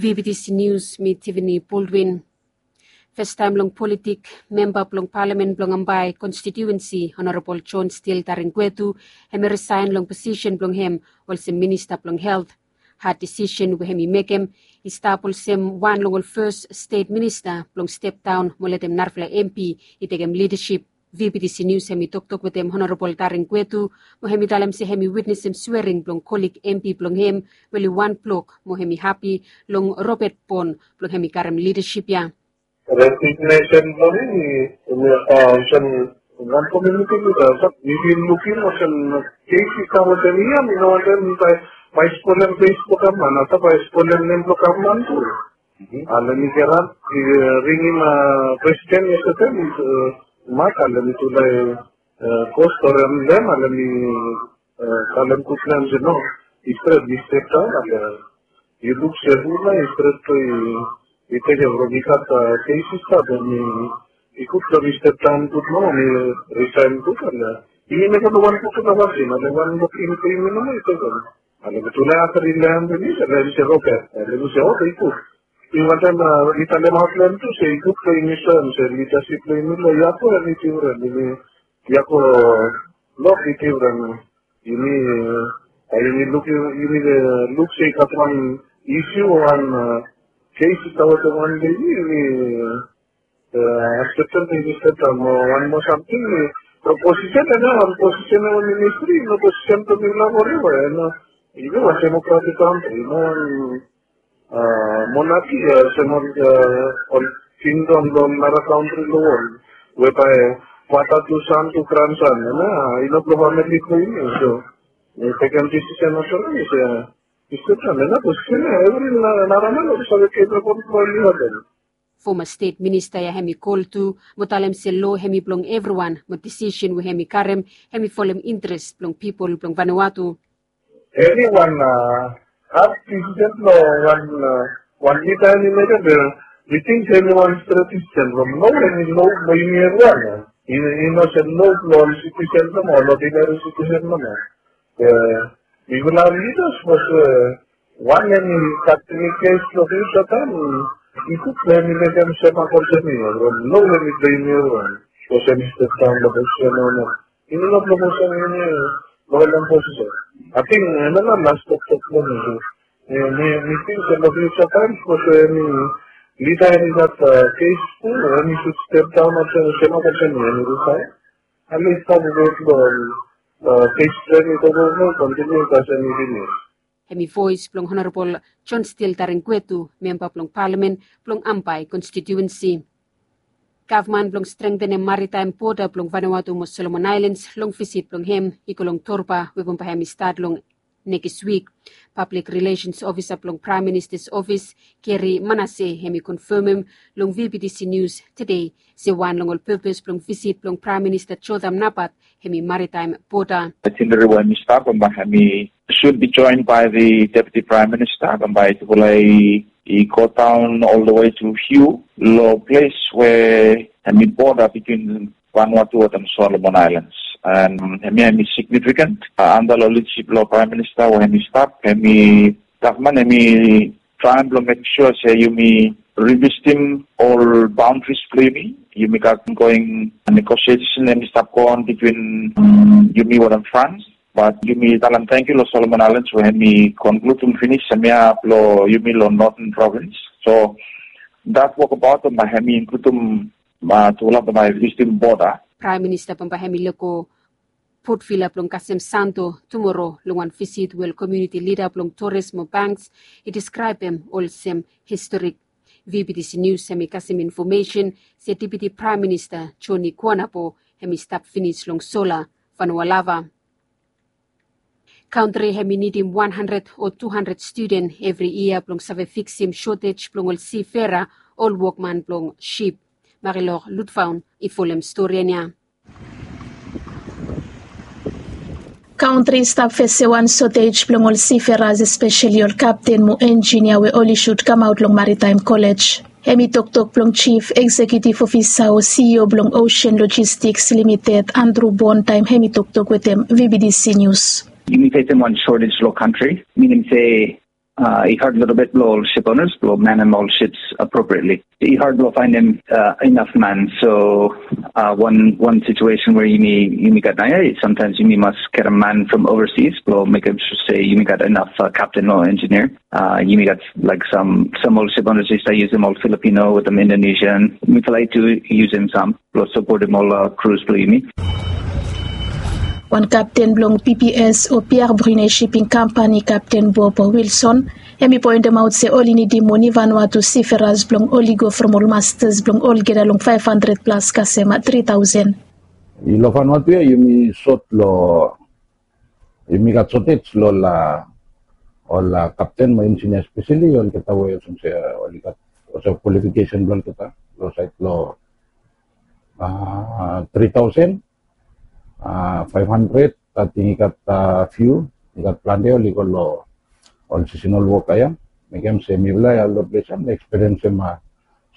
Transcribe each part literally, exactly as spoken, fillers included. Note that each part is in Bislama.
V B T C News, mi Tiffany Baldwin. Festaem long politik, memba blong palamen blong Ambae konstitiuensi, Honorabol John Steele Taringwetu, hemi risaen long posisen blong hem olsem minista blong helt. Had disisen we hemi mekem i stap olsem wan long ol fes stet minista blong step daon mo letem narafala M P i tekem lidasip. V B T C News hemi toktok wetem Honorabol Taringwetu mo hemi talem se hemi witnesem swering blong kolig M P blong hem we oli wan blok mo hemi hapi long Robert Bon blong hemi karem lidasip ya. Resignation blong hem i, i, uh, olsem wan komuniti lida, but we been looking olsem kes i kam olsem ia, mi no wantem bae, bae spolem kes blong gavman, a bae spolem nem blong gavman tu. Ale mi kirap, i, uh, ringim, uh, presiden yestede, uh, mak, ale mi tu lae, uh, go storem dem, ale mi, uh, talem gud blong hem se no, i stret, i step daon, ale yu luk se hu nao i stret blong i, i tekem from i gat, uh, kes i stap, mi, i gud blong mi step daon gud nao, mi risaen gud, ale i mekem wan gud nao pasin, ale wan lok i, i, i, i, i tekem. Ale mi tu lae afta i laen blong mi, ale mi se oke, ale mi se oke, i gud. I wantem, uh, i talemaot long hem tu se i gud blong yumi soem se lidasip blong yumi long Yako hemi difren, yumi Yako lok i difren. Yumi, uh, yumi luk, yumi, uh, luk se i gat wan isiu o wan, uh, kes i stap wetem wan ledi, yumi, uh, akseptem, yumi step daon, o wan moa samting, uh, posisen, wan posisen o ministri, no posisen blong mifala forever, no. Yumi wan demokratik kantri, no wan, uh, monarki, uh, olsem ol, uh, ol kingdom long nara kantri long wol. We bae father to son to grandson, no, i no blong famili blong yumi, so, uh, tekem disisen olsem, uh, i stap daon, no, posisen, uh, evri na, nara man oli save kepabol blong oli hapen. Foma stet minista ya hemi kol tu mo talem se lo hemi blong evriwan mo disisen we hemi karem hemi folem interes blong pipol blong Vanuatu. Eniwan, uh, hap disisen blong wan, uh, wan lida hemi mekem, uh, mi ting se eniwan stret disisen blong lo hemi lo blong yumi evriwan, uh, i, i no se lo blong ol sitisen nomo, ol odineri sitisen nomo. Uh, mifala lida sapos, uh, wan hemi gat eni kes long fiuja taem, i gud blong hemi mekem sem mak olsem i, from lo hemi blong yumi evriwan. Sapos hemi step daon long posisen o no. Yumi no blong posisen yumi long ol posisen. Ating hemia nao las toktok blong mi. Mi, mi, mi ting se long fiuja taem sapos hemi lida hemi gat, uh, kes tu, hemi sud step daon olsem, sem mak olsem hemi risaen. Ale i stap wet long, uh, kes blong hemi, kontiniu kasem i finis. Hemi voes blong Honorabol John Steele Taringwetu, memba blong palamen blong Ambae konstitiuensi. Gavman blong strengtenem maritaem boda blong Vanuatu mo Solomon Aelens long visit blong hem i go long Torba we bambae hemi stat long nekis wik. Pablik Rilesens Ofisa blong Praem Minista's Ofis, Gary Manase, hemi konfemem long V B T C Nius tede se wan long ol pepes blong visit blong Praem Minista Jotham Napat hemi maritaem boda. Itinerari we hemi stap, bambae hemi soon be joined by the Deputy Prime Minister, bambae tufala i, i go daon all the way to Hugh, long ples we hemi boda between Vanuatu wetem Solomon Aelens. And hemia hemi significant, uh, antap long lidasip blong Praem Minista we hemi stap, hemi gavman hemi traem blong mekem sua se yumi revisitem ol baondaris blong yumi. Yumi gat ongoing negosiesen hemi stap goon between, um, yumi wetem Frans. Bat yumi talem tangkiu long Solomon Aelens we hemi konkludem finis hemia blong yumi long Northern Province. So dat wokabaot bambae hemi inkludem, uh, tufala bambae visitem boda. Praem Minista bambae hemi lego potvila blong kasem santo tumoro long wan visit we ol komuniti lida blong Torres mo Banks i deskraebem olsem historik. V B T C Nius hemi kasem infomesen se Deputi Praem Minista Joni Kuanapo hemi stap finis long sola Vanualava. Kantri hemi nidim wan handred o tu handred studen evri yia blong save fiksim sotej blong ol sifera, ol wokman blong sip. Marilor Lutfaun i folem stori ya. Kantri i stap fesem wan sotej blong ol siferas, espeseli ol kapten mo enjin ya we oli sud kamaot long Maritaem Kolej. Hemi toktok blong Jif Eksekiutif Ofisa o C E O blong Ocean Logistics Limited, Andrew Bond, taem hemi toktok wetem V B T C Nius. Yumi fesem wan shortage long kantri, minim se I had lelebet blong ol ship owners blong manem ol ships appropriately. I had blong faenem inaf man. So one one situation we yumi yumi gat naoia, sometimes yumi mas get a man from overseas blong mekem sure se yumi gat inaf captain o engineer. Yumi gat like some some ol ship owners i stap yusum ol Filipino wetem Indonesian. Mifala i tu yusum sam blong sapotem ol crews blong yumi. Wan kapten blong P P S o Pierre Brunet Shipping Company, Kapten Bob Wilson, hem i poentemaot se oli nidim moni Vanuatu siferas blong oli go from ol mastas blong olgeta long five hundred plus kasem three thousand. Long Vanuatu ya yumi sot long yumi gat shortage long ol kapten mo engineer, especially olgeta we olsem se oli gat olsem qualification blong olgeta long sait long three thousand five hundred. Ating i gat few, i gat plante oli go long ol seasonal worker ya. Mekem se mifala ya long ples ya mi eksperiensem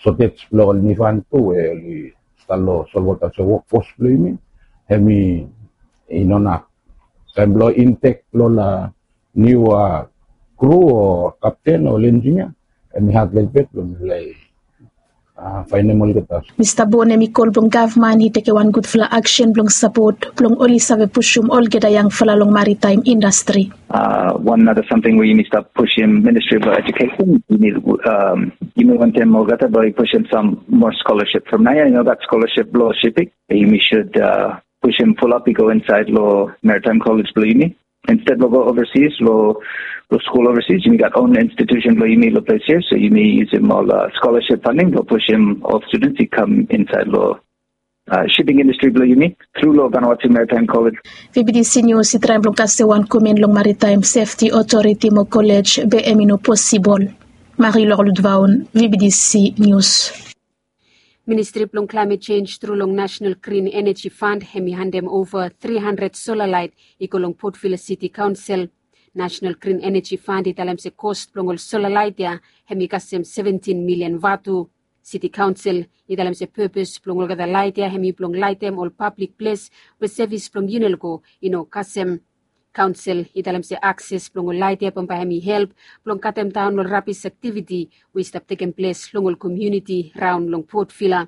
shortage blong ol nivan tu we oli stap long solwota olsem workforce blong yumi. Hem i no naf. Taem blong intek blong ol niu crew o kapten o engineer, hem i had lelebet blong mifala i faenem olgeta. Mista Bon hem i kol blong gavman i tekem wan gudfala aksen blong sapot blong oli save pusum olgeta yangfala long maritaem indastri. One nara samting we yumi stap pusum Ministri blong Ejukesen, yumi wantem olgeta blong i pusum sam moa scholarship from naoia i no gat scholarship blong shiping. Yumi sud pusum fulap i go insaed long Maritime College blong yumi. Insted blong go overseas long skul overseas, yumi gat own institution blong yumi long ples ya. So yumi yusum ol scholarship funding blong pusum ol students i kam insaed long shipping industri blong yumi tru long Vanuatu Maritime College. V B D C News i traem blong kasem wan komen long Maritime Safety Authority mo college be hem i no posibol. Marie Lorludvaon, V B D C News. Ministri blong Climate Change tru long National Green Energy Fund hem i handem ova three hundred solar light i go long Port Vila City Council. National Green Energy Fund i talem se cost blong ol solar light ya hem i kasem seventeen million vatu. City Council i talem se purpose blong olgeta light ya hem i blong laetem ol public ples we sevis blong Unelco i no kasem. Kaonsel i talem se akses blong ol laet ya bambae hem i help blong katem daon ol rabis aktiviti we i stap tekem ples long ol komuniti raon long Port Vila.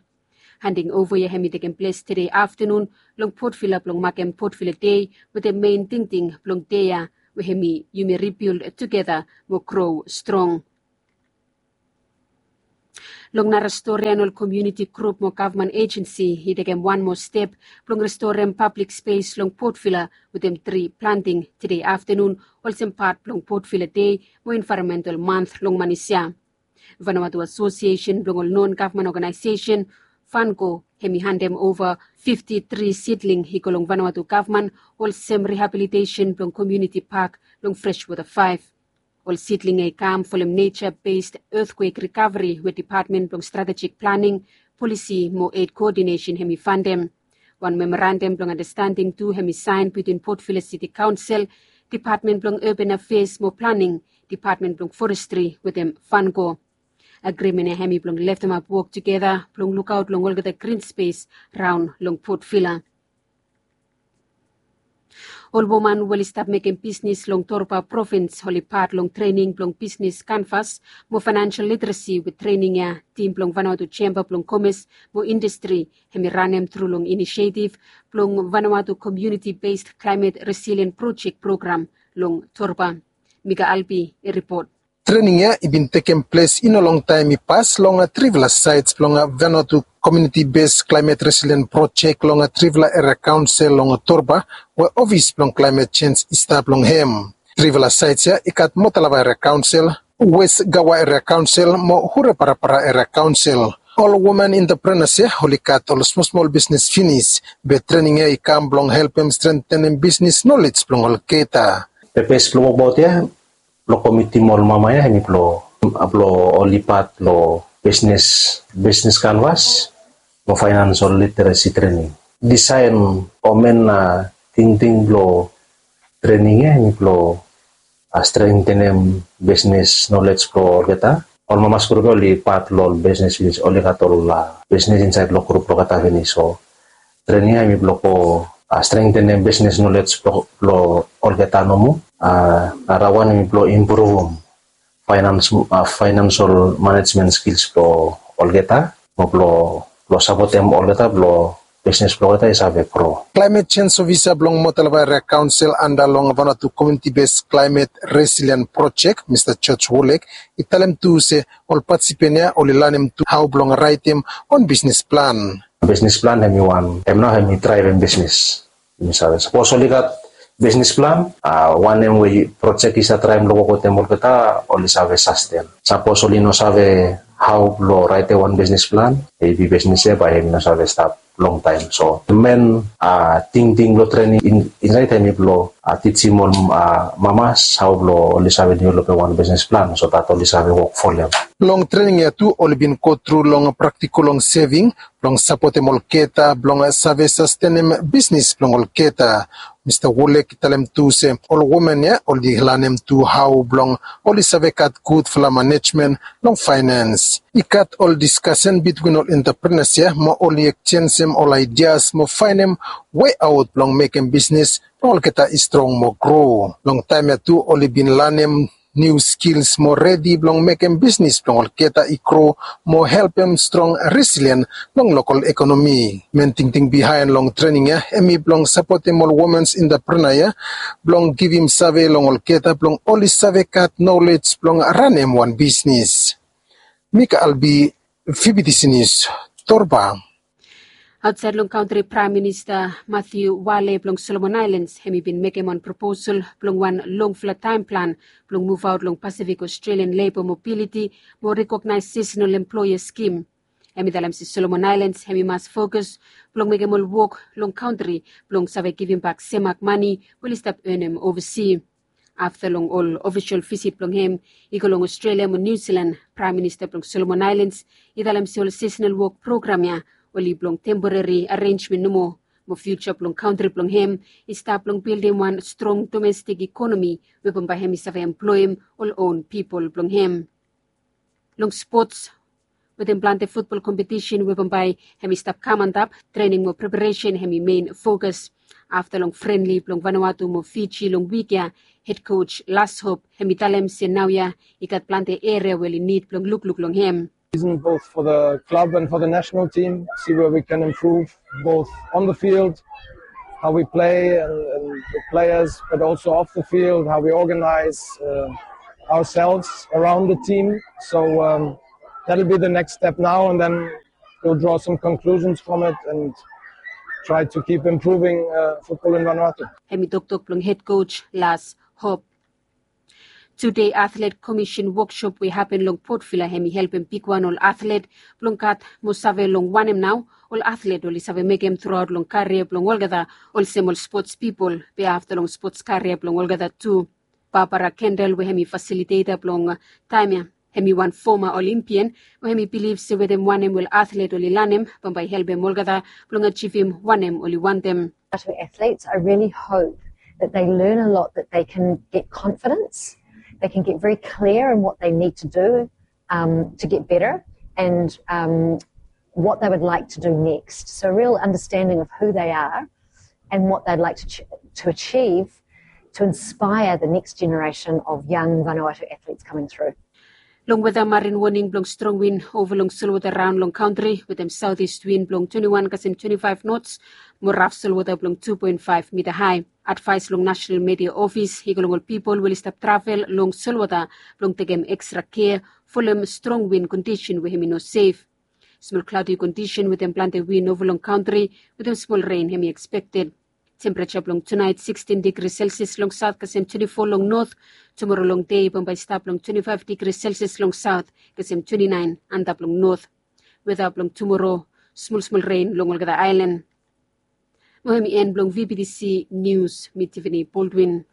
Handing ova ya hem i tekem ples tede aftanun long Port Vila blong makem Port Vila Dei wetem mein tingting blong dei ya we hem i yumi ribild tugeta mo gro strong. Long nara stori ya, ol komuniti grup mo gavman ejensi i tekem wan moa step blong restorem pablik spes long Port Vila wetem tri planting tede aftanun olsem pat blong Port Vila Dei mo Envaeronmental Manth long manis ya. Vanuatu Asosiesen blong ol non gavman oganaesesen, Vanco, hem i handem ova fifti tri sidling i go long Vanuatu gavman olsem rihabilitesen blong komuniti pak long Freshwater Faef. Ol sidling ya i kam folem Nature Based Earthquake Recovery we Depatmen blong Stratejik Planing, Polisi mo Ed Koodinesen hem i fandem. Wan memorandam blong andastanding tu hem i saen bitwin Port Vila Siti Kaonsel, Depatmen blong Urban Afeas mo Planing, Depatmen blong Forestri wetem Vanco. Agrimen ya hem i blong leftemap wok tugeta blong lukaot long olgeta grin spes raon long Port Vila. Ol woman we oli stap mekem bisnis long Torba provins oli pat long trening blong bisnis kanvas mo faenansel literesi we trening ya tim blong Vanuatu Jemba blong Komes mo Indastri hem i ranem tru long inisetif blong Vanuatu Komuniti Bes Klaemet Resilien Projek program long Torba. Mika Albi i ripot. Trening ya i bin tekem ples i no longtaem i pas long trifala saets blong Vanuatu Komuniti Bes Klaemet Resilien Projek long trifala eria kaonsel long Torba we ofis blong klaemet jenj i stap long hem. Trifala saets ya i gat Motalava Eria Kaonsel, Wes Gawa Eria Kaonsel mo Hureparapara Eria Kaonsel. Ol woman enteprenas ya oli gat ol smosmol bisnis finis, be trening ya i kam blong helpem strentenem bisnis nolej blong olgeta. Pepes blong wokbaot ya blong komitim ol mama ya hem i blong blong oli pat long bisnis, bisnis kanvas mo faenansel literesi trening. Disaen o men na tingting blong trening ya hem i blong strentenem bisnis nolej blong olgeta. Ol mamas grup ya oli pat long ol bisnis finis, oli gat ol bisnis insaed long grup blong olgeta finis. So trening ya hem i blong go strentenem bisnis nolej blong olgeta nomo. Narawan hem i blong impruvum financial management skills blong olgeta mo blong sapotem olgeta blong bisnis blong olgeta i save gro. Klaimet sens ofisa blong motalvaria kaonsel anda long vanatu kominiti bes klaimet resilien projek mista George Wolek i talem tu se ol patisipen ya oli lanem tu hao blong raetem wan bisnis plan. Bisnis plan hem i wan hem nao hem i draevem bisnis. Yumi save sapos oli gat bisnis plan, wanem we projek i save traem long wok wetem olgeta oli save sasten. Sapos oli no save hao blong raetem wan bisnis plan, mebi bisnis ya bae hem i no save stap longtaem. So men tingting blong trening insaed hem i blong tijim ol mamas hao blong oli save developem wan bisnis plan so dat oli save wok folem. Long trening ya tu oli bin gotru long praktikol long seving blong sapotem olgeta blong save sastenem bisnis blong olgeta. Mista Wolek i talem tu se ol women ya oli lanem tu hao blong oli save gat gudfala manejmen long faenens. I gat ol diskasen bitwin ol entaprenas ya mo oli ekjenjem ol aidias mo faenem weaot blong mekem bisnis blong olgeta i strong mo gro. Long taem ya tu oli bin lanem niu skils mo redi blong mekem bisnis blong olgeta i gro mo helpem strong resilien long lokol ekonomi. Men tingting bihaen long trening ya hem i blong sapotem ol womens entaprena ya blong givim save long olgeta blong oli save gat nolej blong ranem wan bisnis. Mika Albi, Fibitisi Nius, Torba. Aotsaed long kantri, Praem Minista Matiu Wale blong Solomon Aelens hem i bin mekem wan proposal blong wan longfala taem plan blong muvaot long Pasifik Australian Leba Mobiliti mo rekognaes sisenal emploea skim. Hem i talem se Solomon Aelens hem i mas fokus blong mekem ol wok long kantri blong save givimbak semak mane we oli stap enem ovasi. Afta long ol ofisol visit blong hem i go long Australia mo Niu Silan, Praem Minista blong Solomon Aelens i talem se ol sisenal wok program ya oli blong temporeri arenjmen nomo mo fiuja blong kantri blong hem i stap blong bildim wan strong domestik ekonomi we bambae hem i save emploem ol own pipol blong hem. Long spots wetem plante futbol kompetisen we bambae hem i stap kam antap, trening mo preparesen hem i men fokus. Afta long frenli blong Vanuatu mo Fiji long wik ya, hed kos Las Hop hem i talem se naoia i gat plante eria we oli nid blong lukluk long hem. Season both for the club and for the national team, see where we can improve both on the field, how we play and, and the players, but also off the field, how we organize uh, ourselves around the team. So um, that'll be the next step now, and then we'll draw some conclusions from it and try to keep improving uh, football in Vanuatu. Hem i toktok blong hed kos Las Hop. Tude Atlet Komisen woksop we i hapen long Port Vila hem i helpem bigwan ol atlet blong gat mo save long wanem nao ol atlet oli save mekem truaot long karia blong olgeta, olsem ol spots pipol be afta long spots karia blong olgeta tu. Barbara Kendall we hem i fasiliteta blong taem ya, hem i wan foma Olimpian we hem i bilif se wetem wanem we ol atlet oli lanem bambae i helpem olgeta blong ajivim wanem oli wantem. Vanuatu athletes, I really hope that they learn a lot, that they can get confidence, they can get very clear in what they need to do um, to get better and um, what they would like to do next. So, a real understanding of who they are and what they'd like to, ch- to achieve to inspire the next generation of young Vanuatu athletes coming through. Long weta, marin woning blong strong win ova long solwota raon long kantri wetem saotis win blong twenti wan kasem twenti faef nots mo raf solwota blong tu poen faef mita hae. Advaes long Nasenal Media Ofis i go long ol pipol we oli stap travel long solwota blong tekem ekstra kea folem strong win kondisen we hem i no sef. Smol klaodi kondisen wetem plante win ova long kantri wetem smol ren hem i ekspekted. Tempereja blong tunaet sikstin digri selsias long saot kasem twenti fo long not. Tumoro long dei bambae i stap long twenti faef digri selsias long saot kasem twenti naen antap long not. Weta blong tumoro, smolsmol ren long olgeta aelan. Mo hem i en blong VBTC Nius. Mi Tiffany Baldwin.